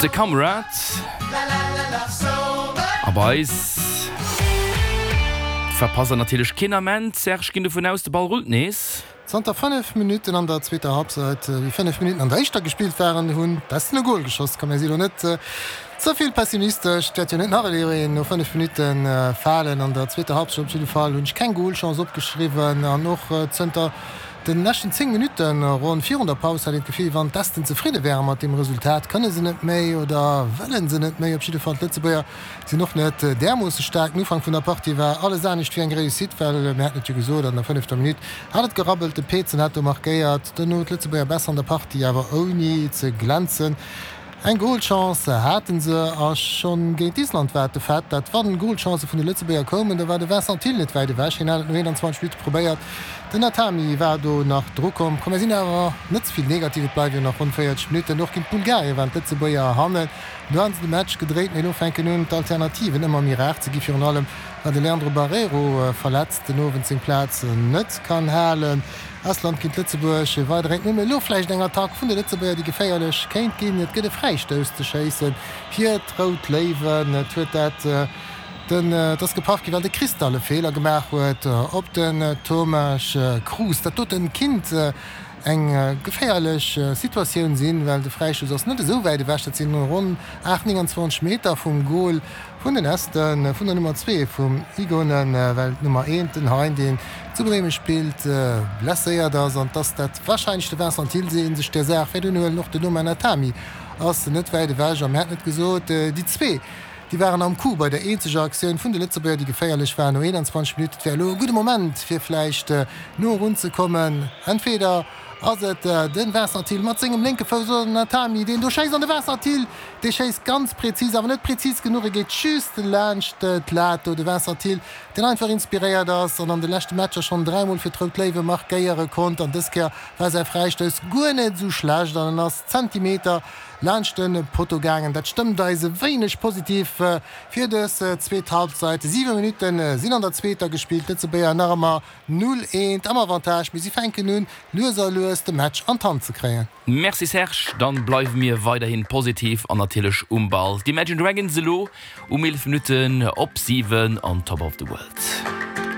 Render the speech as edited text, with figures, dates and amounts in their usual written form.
De Kamrad a bei eis verpasst der natierlech keen Ament. Serge, ginn dovun aus, de Ball rullt nees. Zanter 5 Minutten an der zweeter Halbzeit, wéi 5 Minutten an der éischter gespillt waren, hunn d'Esten e Gol geschoss. Komm, mir si lo net ze vill pessimistesch, et wäert jo net nach elo een no 5 Minutte falen. An der zweeter Halbzeit op jidde Fall hunn ech keng Golchance opgeschriwwen an och zënter den leschten 10 Minutten, ronn virun der Paus, hat een d'Gefill, wann d'Esten zefridde wäre mat deem Resultat. Kënne se net méi oder wëlle se net méi? Op jidde Fall d'Lëtzebuerger Sinn och net därmoosse staark. Den Ufank vun der Partie war alles anescht wéi eng Réussite, well mir haten et jo gesot, an der fënnefter Minutt hat et gerabbelt, de Pezen hat do markéiert, duerno d'Lëtzebuerger besser an der Partie, awer ouni ze glänzen. Eng Golchance hate se a schonn géint Island war et de Fait, dat wann Golchancë vun de Lëtzebuerger koumen, da war de Vincent Thill net wäit ewech. Hien hat et no 21 Minutte probéiert, den Natami war do nach drukomm. Komm, mir sinn awer net ze vill negativ, et bleiwe jo nach ronn 40 Minutten. Och géint Bulgarien waren d'Lëtzebuerger hannen. Do han se de Match gedréit, mee elo fänken un d'Alternativen ëmmer méi rar ze gi, virun allem well de Leandro Barreiro verletzt den Owend seng Plaz net kann halen. Estland géint Lëtzebuerg, weider 1, 0, mee elo vläicht eng Attack vun de Lëtzebuerger déi geféierlech kéint ginn. Et gëtt e Fräistouss ze schéisse fir d'Rout Léiwen. Et huet dat den, et ass gepaff gi well de Cristal e Feeler gemaach huet op den Tomasz Cruz. Dat doten kinnt Eng geféierlech Situatioun sinn, well de Fräistouss ass net esou wäit ewech, dat sinn ronn 8, 29 Meter vum Gol vun den Esten, vun der Nummer 2 vum Igonen, well d'Nummer 1, den Hein, deen zu Bremen spillt, blesséiert ass an dass dat warscheinlech de Vincent Thill sinn, sech där Saach wäert unhuelen. Och den Oman Atami ass net wäit ewech a mir hätten et gesot, déi zwee, déi waren am Coup bei der eenzeger Aktioun vun de Lëtzebuerger, déi geféierlech war no 21 Minutten. Et wär elo e gudde Moment, fir vläicht no erun ze kommen. Entweder ass et de Vincent Thill mat sengem lénke Fouss oder den Atami, deen do schéisst. An de Vincent Thill, dee schéisst ganz prezis, awer net prezis genuch. E geet just laanscht d'Lat do. De Vincent Thill, deen einfach inspiréiert ass an an de leschte Matcher schonn dräimol fir d'Rout Léiwe markéiere konnt. An dës Kéier war säi Fräistouss guer net esou schlecht an en ass Zentimeter Laanscht de Potto gaangen. Dat stëmmt eis e wéineg positiv fir dës zweet Halbzeit. 7 Minutte sinn an der zweeter gespillt, d'Lëtzebuerger nach ëmmer 0, 1 am Avantage, mee si fänken un lues a lues de Match an d'Hand ze kréien. Merci Serge, dann bleiwe mir weiderhin positiv an natierlech um Ball. D'Imagine Dragons elo um 11 Minutten op 7 on Top of the World.